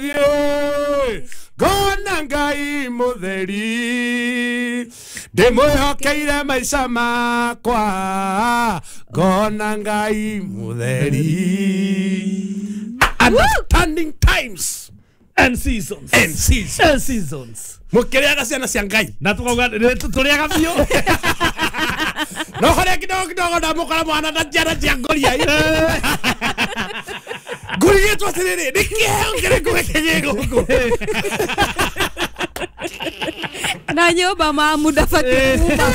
Ngũthiĩ ngona Ngai mũtheri, ndĩmwĩhokeire maica makwa, ngona Ngai mũtheri. Understanding times and seasons. And seasons. And seasons. Mũkĩrĩaga ciana cia Ngai. Na tukauga tũrĩaga biũ. No harĩa kidogo kidogo ndamũkora mwana na njiara cia ngoria. Ngũrigĩtwo atĩrĩrĩ, nĩ kĩheo kĩrĩkũ gĩkĩ gĩ gũkũ? Na nyũmba mamu ndabatiĩ kuma.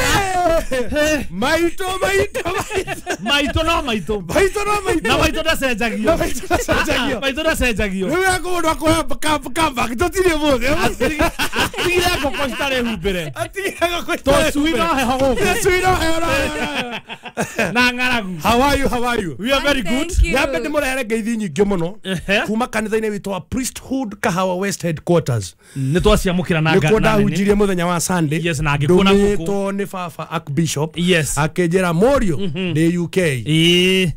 Maitũ, maitũ, maitũ. Maitũ no maitũ. Maitũ no maitũ. Na maitũ ndacenjagio. Na maitũ ndacenjagio. Maitũ ndacenjagio. Rĩu yakũndũ akũhe comeback, tũtirĩ mũthĩ. Atigire ngũkũ citarĩ humbĩre. Atigire ngũkũ citarĩ Tũcui no heho gũkũ. Tũcui no heho, no heho. Na ng'aragu. How are you? How are you? We are very good. Nyambe ndĩmũrehere ngeithi nyingĩ mũno kuma kanitha-inĩ witũ wa Priesthood Kahawa West Headquarters. Nĩ twaciamũkĩra na nĩkuo ndahunjirie mũthenya wa Sunday. Yes, na ngĩkuona gũkũ. Ndũmĩtwo nĩ baba Archbishop. Yes. Akĩnjĩra mũriũ ndĩ UK.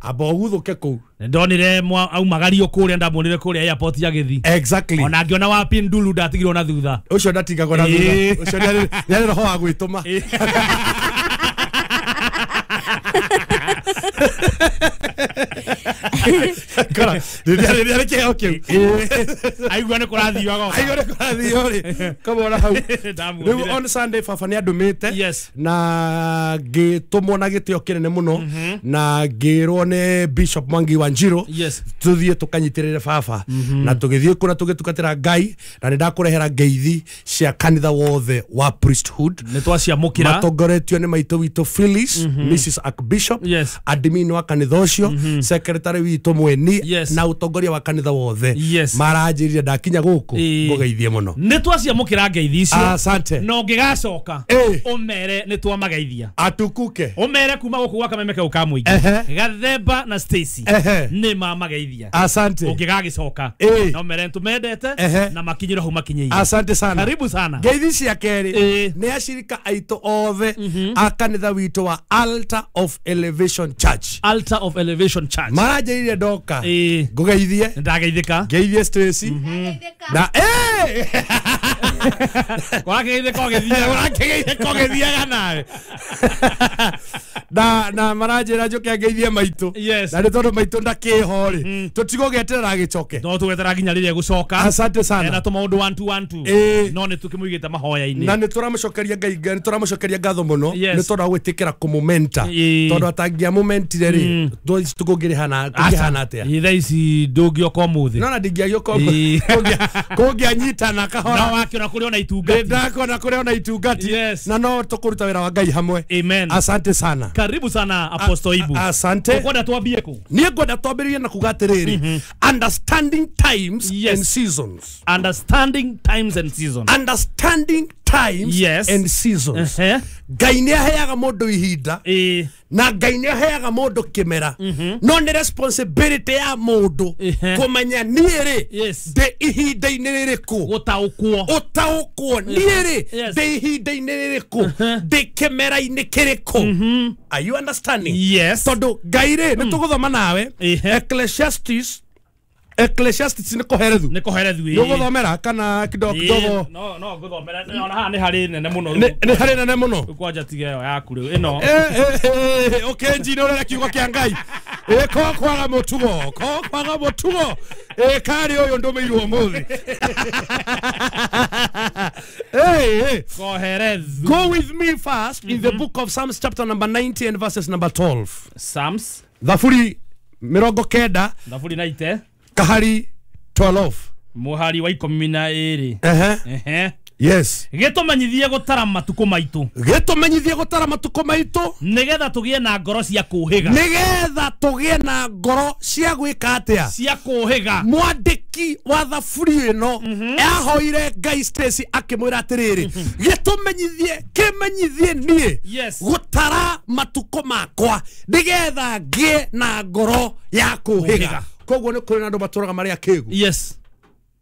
Amba ũguthũke kũu. Ndonire aumagario kũrĩa, ndamuonire kũrĩa airport agĩthiĩ. Exactly. Ona ngĩona wa Pindulu ndatigirwo na thutha. Ũcio ndatigagwo na thutha. Ũcio nĩ roho wa gwĩtũma. Kora, rĩrĩa kĩheo kĩu. Aigua nĩ kũrathiaga. Aigua nĩ kũrathio rĩ. Kamwona hau. Rĩu on Sunday baba nĩ andũmĩte. Yes. Na ngĩtũmwo na gĩtĩo kĩnene mũno na ngĩrwo nĩ Bishop Mwangi wa Njiro. Yes. Tũthiĩ tũkanyitĩrĩre baba. Na tũgĩthiĩ kũna tũgĩtungatĩra Ngai na nĩ ndakũrehera ngeithi cia kanitha wothe wa Priesthood. Nĩ twaciamũkĩra. Matongoretio nĩ maitũ witũ Phyllis, Mrs. Archbishop. Yes. Admin wa kanitha ũcio, secretary witũ mweni. Yes. Na ũtongoria wa kanitha wothe. Yes. Maranjĩrire ndakinya gũkũ ngũgeithie mũno. Nĩ twaciamũkĩra ngeithi icio. Asante. Na ũngĩgacoka ũmere nĩ twamageithia. Atukuke. Ũmere kuma gũkũ gwa Kameme kau ka mũingĩ. Gathemba na Stacy nĩ mamageithia. Asante. Ũngĩgagĩcoka no mere nĩtũmendete na makinyĩre hau makinyĩire. Asante sana. Karibu sana. Ngeithi cia kerĩ nĩ acirika aitũ othe a kanitha witũ wa Altar of Elevation Church. Altar of Elevation Church. Maranjĩrire ndoka ngũgeithie. Ndageithĩka. Ngeithie Stacy. Na Ũrakĩgeithĩka ũgĩthiaga. Ũrakĩgeithĩka ũgĩthiaga nawe. Na maranjĩra njũke ngeithie maitũ. Yes. Na nĩ tondũ maitũ ndakĩho rĩ, tũtigũgĩeterera agĩcoke. No tũgwetera nginya rĩrĩa egũcoka. Asante sana. Ena tũmaũndũ 1 2 1 2. No nĩ tũkĩmũigĩte mahoya-inĩ. Na nĩ tũramũcokeria Ngai, nĩ tũramũcokeria ngatho mũno Yes. nĩ tondũ wa gwĩtĩkĩra kũmũmenta. Tondũ atangĩamũmentire rĩ, tũkũngĩrĩhana atĩa? Thaa ici ndũngĩoka ũmũthĩ. No na ndingĩagĩũka ũmũthĩ. Kũngĩanyitana kahora. No wakĩona kũrĩ ona itungati. Ndakona kũrĩ ona itungati. Yes. Na no tũkũruta wĩra wa Ngai hamwe. Amen. Asante sana. Karibu sana Apostle Ibu. Asante. Ũkwenda twambie kũ? Niĩ ngwenda twambĩrĩrie na kuga atĩrĩrĩ, understanding times Yes. and seasons. Understanding times and seasons. Understanding times Yes. and seasons. Ngai nĩ aheaga mũndũ ihinda na Ngai nĩ aheaga mũndũ kĩmera. No nĩ responsibility ya mũndũ kũmenya niĩ rĩ ndĩ ihinda-inĩ rĩrĩkũ. Gũtaũkwo. Ũtaũkwo niĩ rĩ Yes. ndĩ ihinda-inĩ rĩrĩkũ, ndĩ kĩmera-inĩ kĩrĩkũ. Are you understanding? Yes. Tondũ Ngai rĩ nĩ tũgũthoma nawe Ecclesiastes. Ecclesiastes nĩ kũherethu. Nĩ kũherethu. Nĩ ũgũthomera kana kidogo kidogo? No, no ngũthomera. Ona haha nĩ harĩ nene mũno. Nĩ harĩ nene mũno. Kwanja tiga ĩyo yaku rĩu ĩno. Ũkĩnjina ũrĩa kiugo kĩa Ngai. Ko kwaga mũtugo, ko kwaga mũtugo. Karĩ ũyũ ndũmĩirwo ũmũthĩ. Koherethu. Go with me first in the book of Psalms chapter number 90 and verses number 12. Psalms. Thaburi 90. Thaburi 90. Kahari 12. Muhari wa 12. Yes. Gĩtũmenyithie gũtara matukũ maitũ. Gĩtũmenyithie gũtara matukũ maitũ. Nĩgetha tũgĩe na ngoro cia kũũhĩga. Nĩgetha tũgĩe na ngoro cia gwĩka atĩa? Cia kũũhĩga. Mwandĩki wa thaburi ĩno ahoire Ngai Stacy akĩmwĩra atĩrĩrĩ, gĩtũmenyithie, kĩmenyithie niĩ gũtara matukũ makwa nĩgetha ngĩe na ngoro ya kũũhĩga. Koguo nĩ kũrĩ na andũ matũraga marĩ akĩgu. Yes.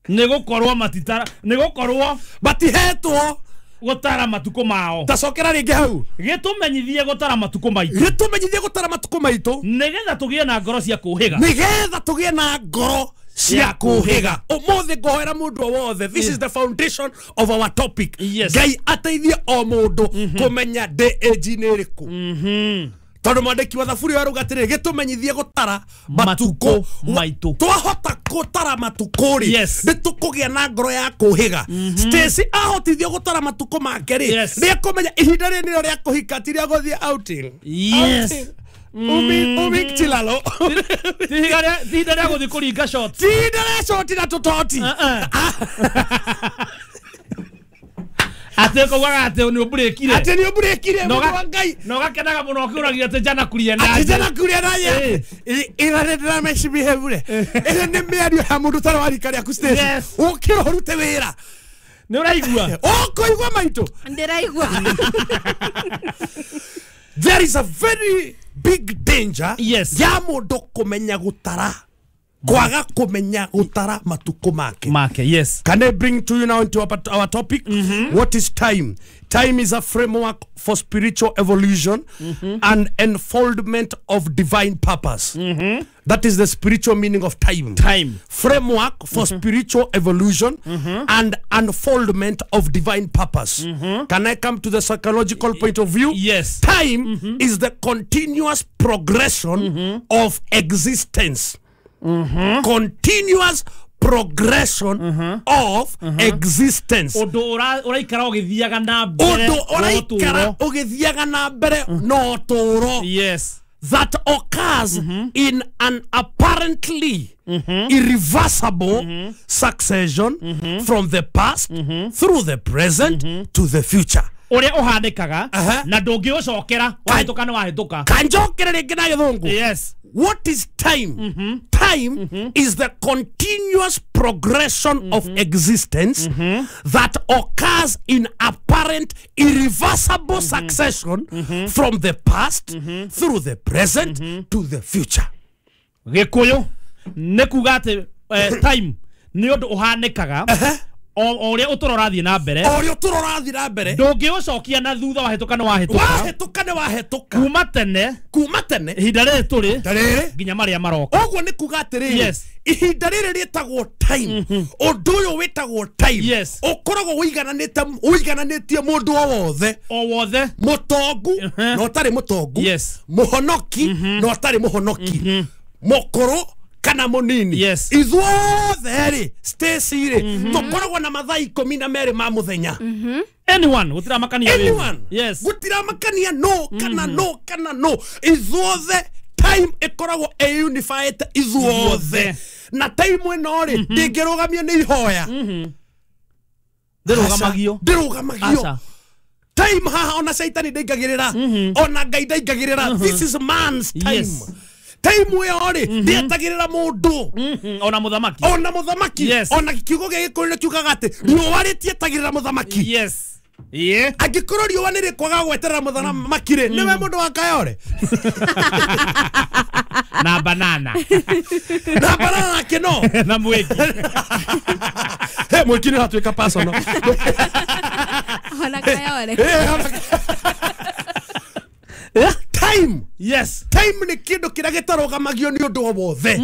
Nĩgũkorwo matitara, nĩgũkorwo matihetwo gũtara matukũ mao. Tacokera rĩngĩ hau. Gĩtũmenyithie gũtara matukũ maitũ. Gĩtũmenyithie gũtara matukũ maitũ. Nĩgetha tũgĩe na ngoro cia kũũhĩga. Nĩgetha tũgĩe na ngoro cia kũhĩga. Ũmũthĩ ngũhoera mũndũ o wothe. This is the foundation of our topic. Yes. Ngai ateithie o mũndũ kũmenya ndĩ age-inĩ ĩrĩkũ. Tondũ mwandĩki wa thaburi arauga atĩrĩrĩ, gĩtũmenyithie gũtara matukũ maitũ. Twahota gũtara matukũ rĩ, Yes. nĩ tũkũgĩa na ngoro ya kũhĩga. Stacy ahotithio gũtara matukũ make rĩ, Yes. nĩ ekũmenya ihinda rĩrĩ nĩrĩo rĩa kũhika, ti rĩa gũthiĩ outing. Yes. Outing. Umi chilalo. Ti ihinda rĩa gũthiĩ kũringa shot. Ti ihinda rĩa shot na tũtoti. Atĩ kũugaga atĩ nĩ ũmburĩkire. Atĩ nĩ ũmburĩkire, mũndũ wa Ngai. Na ũgakenaga mũno ũkĩũragia atĩ jana kuria Atĩ naye. jana kuria naye. Ĩra nĩ ndĩramecibihevure. Ĩyo nĩ mĩario ya mũndũ ũtarĩ wa rika rĩaku, Stacy. Yes. Ũkĩra ũrute wĩra. Nĩ ũraigua? Ũkũigua maitũ? Ndĩraigua. There is a very big danger Yes. ya mũndũ kũmenya gũtara, kwaga kũmenya gũtara matukũ make. Make, yes. Can I bring to you now into our topic? What is time? Time is a framework for spiritual evolution and enfoldment of divine purpose. That is the spiritual meaning of time. Time. Framework for spiritual evolution and unfoldment of divine purpose. Can I come to the psychological point of view? Yes. Time is the continuous progression of existence. Continuous progression of existence. Ũndũ ũraikara ũgĩthiaga na mbere. Ũndũ ũraikara ũgĩthiaga na mbere no ũtũũro. Yes. That occurs in an apparently irreversible succession from the past through the present to the future. Ũrĩa ũhanĩkaga Aha. na ndũngĩũcokera, wahĩtũka nĩ wahĩtũka. Kanjokere rĩngĩ na gĩthũngũ. Yes. What is time? Time is the continuous progression of existence that occurs in apparent irreversible succession from the past through the present to the future. Gĩkũyũ nĩ kuga atĩ time nĩ ũndũ ũhanĩkaga o ũrĩa ũtũũro ũrathiĩ na mbere. O ũrĩa ũtũũro ũrathiĩ na mbere. Ndũngĩũcokia na thutha, wahĩtũka nĩ wahĩtũka. Wahĩtũka nĩ wahĩtũka. Kuma tene. Kuma tene. Ihinda rĩrĩ tũrĩ. Rĩrĩ. Nginya marĩa maroka. Ũguo nĩ kuga atĩrĩrĩ. Yes. Ihinda rĩrĩ rĩtagwo time. Ũndũ ũyũ wĩtagwo time. Yes. Ũkoragwo ũigananĩtie mũndũ o wothe. O wothe. Mũtongu na ũtarĩ mũtongu. Yes. Mũhonoki na ũtarĩ mũhonoki. Mũkũrũ kana mũnini. Yes. Ithuothe rĩ, Stacy rĩ, tũkoragwo na mathaa 12 ma mũthenya. Anyone, gũtiramakania wĩra. Anyone. Yes. Gũtiramakania no kana no kana no. Ithuothe time ĩkoragwo ĩ unified ithuothe. Na time ĩno rĩ, ndĩngĩrũgamio nĩ ihoya. Ndĩrũgamagio. Ndĩrũgamagio. Time haha ona caitani ndaingagĩrĩra. Ona Ngai ndaingagĩrĩra. This is man's time. Yes. Time ĩyo rĩ, ndĩetagĩrĩra mũndũ. Ona mũthamaki. Ona mũthamaki. Yes. Ona kiugo gĩa Gĩkũyũ nĩ kiugaga atĩ riũa rĩtietagĩrĩra mũthamaki. Yes. Yeah. Angĩkorwo riũa nĩ rĩkwaga gweterera mũthamaki rĩ, nĩwe mũndũ wa Kayore. Na banana. Na banana nake no. Na mwĩki. He, mwĩki nĩ ũratuĩka personal. Ona Kayore. Time. Yes. Time nĩ kĩndũ kĩrĩa gĩtarũgamagio nĩ ũndũ o wothe.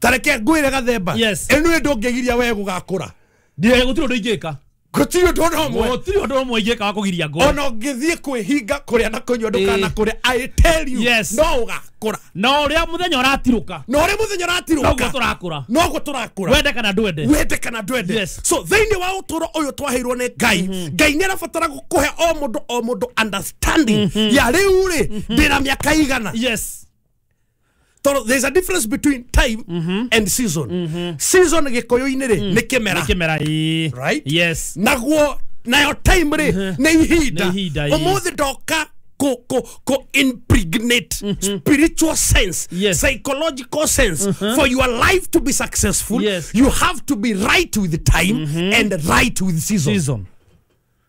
Ta reke ngwĩre Gathemba. Yes. Ĩno ndũngĩgiria we gũgakũra. Ndiĩ gũtirĩ ũndũ ingĩka. Gũtirĩ ũndũ ona ũmwe. Gũtirĩ ũndũ ũmwe ingĩka wa kũgiria ngũre. Ona ũngĩthiĩ kwĩhinga kũrĩa na kũnyua ndũkana kũrĩa, I tell you, Yes. no ũgakũra. Na ũrĩa mũthenya ũratirũka. Na ũrĩa mũthenya ũratirũka. Noguo tũrakũra. Noguo tũrakũra. Wende kana ndwende. Wende kana ndwende. Yes. So thĩinĩ wa ũtũũro ũyũ twaheirwo nĩ Ngai, Ngai nĩ arabatara gũkũhe o mũndũ o mũndũ understanding ya rĩu rĩ, ndĩna mĩaka igana. Yes. Tondũ there's a difference between time and season. Season gĩkũyũ-inĩ rĩ, nĩ kĩmera. Nĩ kĩmera, ĩĩ. Right? Yes. Naguo nayo time rĩ, nĩ ihinda. Nĩ ihinda, ĩĩ. Ũmũthĩ ndoka ko impregnate spiritual sense, Yes. psychological sense. For your life to be successful, Yes. you have to be right with the time and right with season. Season.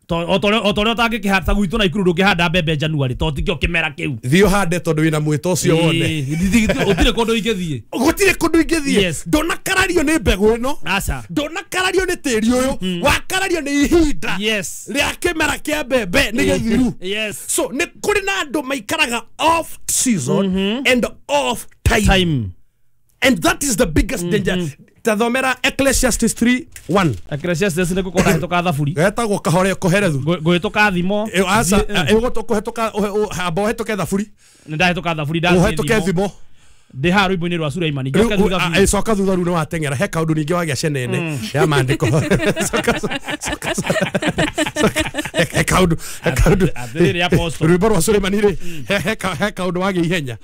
O torĩa ũtangĩkĩhanda gwitũ na ikuru ndũngĩhanda mbembe January tondũ tikĩo kĩmera kĩu. Thiĩ ũhande tondũ wĩna mwĩto ũcio wone. Gũtirĩ kũndũ ingĩthiĩ. Gũtirĩ kũndũ ingĩthiĩ. Yes. Ndũnakarario nĩ mbegũ ĩno. Aca. Ndũnakarario nĩ tĩri ũyũ. Wakarario nĩ ihinda. Yes. Rĩa kĩmera kĩa mbembe nĩ gĩthiru. Yes. So nĩ kũrĩ na andũ maikaraga off season and off time. Time. And that is the biggest danger. Tathomera Ecclesiastes 3:1. Ecclesiastes nĩ ngũkorwo ndahĩtũka thaburi. Getagwo kahore koherethu. Ngũhĩtũka thimo. Aca, kũhetũka, amba ũhetũke thaburi. Nĩ ndahĩtũka thaburi, ndathiĩ ũhetũke thimo. Thimo. Ndĩ haha rwĩmbo-inĩ rwa Suleimani, njoke thutha biũ. Coka thutha rĩu nĩ wateng'era, he kaũndũ ningĩ wagĩa cenene ya maandĩko. Coka, coka, coka. He kaũndũ Atĩrĩrĩ, Apostle. Rwĩmbo rwa Suleimani rĩ, he kaũndũ wagĩa ihenya.